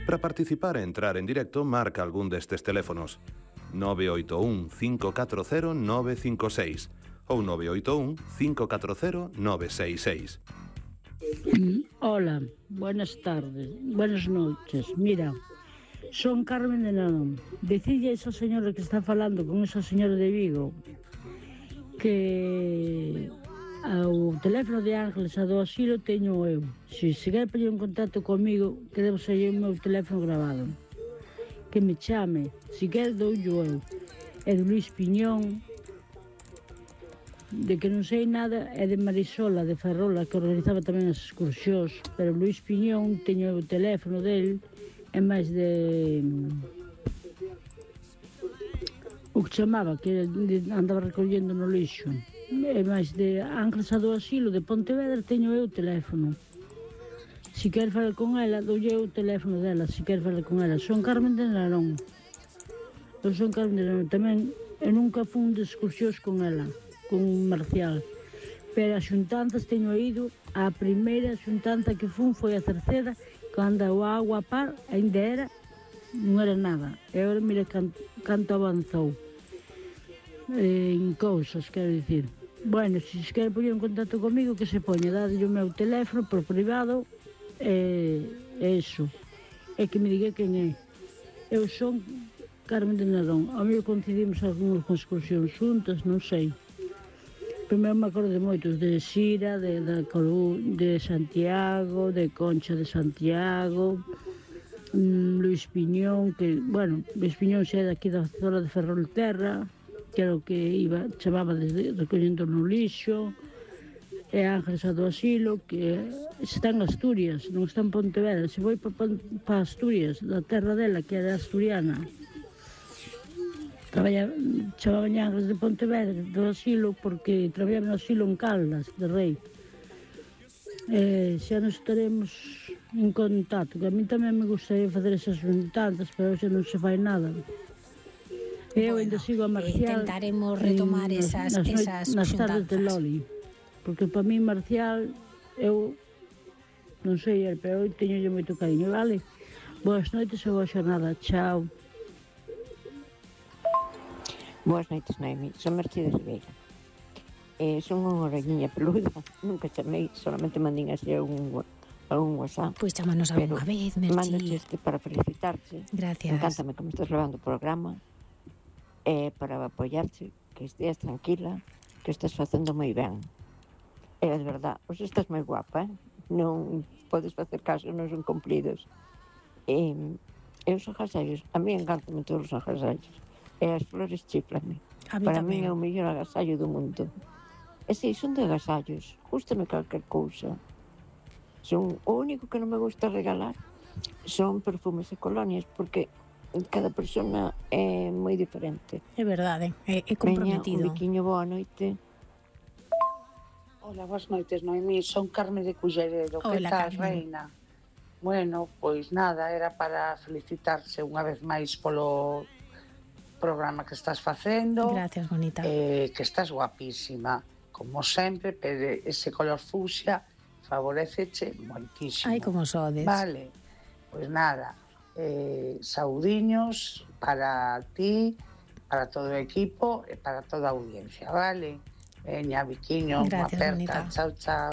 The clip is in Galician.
Para participar e entrar en directo, marca algún destes teléfonos: 981 540 956 ou 981 540 966. Hola, buenas tardes, buenas noches. Mira, son Carmen de Narón. Decille a esa señora que está falando con esa señora de Vigo que o teléfono de Ángeles a do asilo teño eu. Se quer poñer en contacto comigo, que debo ser o meu teléfono grabado. Que me chame, se quer doullo eu. É de Luís Piñón, de que non sei nada, é de Marisola, de Ferrola, que organizaba tamén as excursións, pero Luís Piñón teño o teléfono del, é máis de... o que chamaba, que andaba recollendo no lixo. É máis de Ángeles a do Asilo, de Pontevedra, teño eu o teléfono. Se quer falar con ela, doulle o teléfono dela, se quer falar con ela. Son Carmen de Narón. Eu son Carmen de Narón. Tamén, eu nunca fun de excursións con ela, con Marcial. Pero as xuntanzas teño ido, a primeira xuntanza que fun foi a terceira, cando o agua a par ainda era, non era nada. E agora mira canto avanzou en cousas, quero dicir. Bueno, se quer poñer en contacto comigo, que se poña, dadle o meu teléfono por privado, eso, é que me diga quen é. Eu son Carmen de Narón. A mí coincidimos algunhas excursións xuntas, non sei. Primeiro me acordo de moitos, de Xira, de Santiago, de Concha de Santiago, Luís Piñón, que, bueno, Luís Piñón xa é daqui da zona de Ferrolterra, que era o que chamaba desde recollendo no lixo, e Ángeles a do Asilo, que está en Asturias, non está en Pontevedra. Se voi para Asturias, da terra dela, que era asturiana, chamaban Ángeles de Pontevedra, do Asilo, porque traballaba no asilo en Caldas, de Rei. Xa nos estaremos en contacto, que a mí tamén me gustaría facer esas xuntanzas, pero xa non se fai nada. Eu ainda sigo a Marcial. Intentaremos retomar esas nas tardes de Loli, porque para mí Marcial, eu non sei, pero eu teño moito cariño, vale? Boas noites e boa xornada, chao. Boas noites, Noemi. Son Mercedes Ribeira. Son unha orañiña peluda, nunca chamei, solamente mandín así algún WhatsApp. Pois chámanos algunha vez, Merchi. Mándoche para felicitarte. Gracias. Encántame como estás levando o programa. Para apoiarte, que esteas tranquila, que estás facendo moi ben. De verdad, hoxe estás moi guapa, non podes facer caso, non son cumplidos. Os agasallos, a mí encántame todos os agasallos. E as flores chiflame. Para mí é o mellor agasallo do mundo. Si, son de agasallos, gústame calquer cousa. O único que non me gusta regalar son perfumes e colonias, porque cada persona é moi diferente. É verdade, é comprometido. Veña, un biquiño, boa noite. Hola, boas noites, Noemí. Son Carmen de Culleredo. Que tal, reina? Bueno, pois nada, era para felicitarse unha vez máis polo programa que estás facendo. Gracias, bonita. Que estás guapísima, como sempre, pero ese color fucsia favoreceche moitísimo. Ai, como sodes. Vale, pois nada, saudiños para ti, para todo o equipo e para toda a audiencia, vale? Veña, biquiño, unha aperta, chao, chao.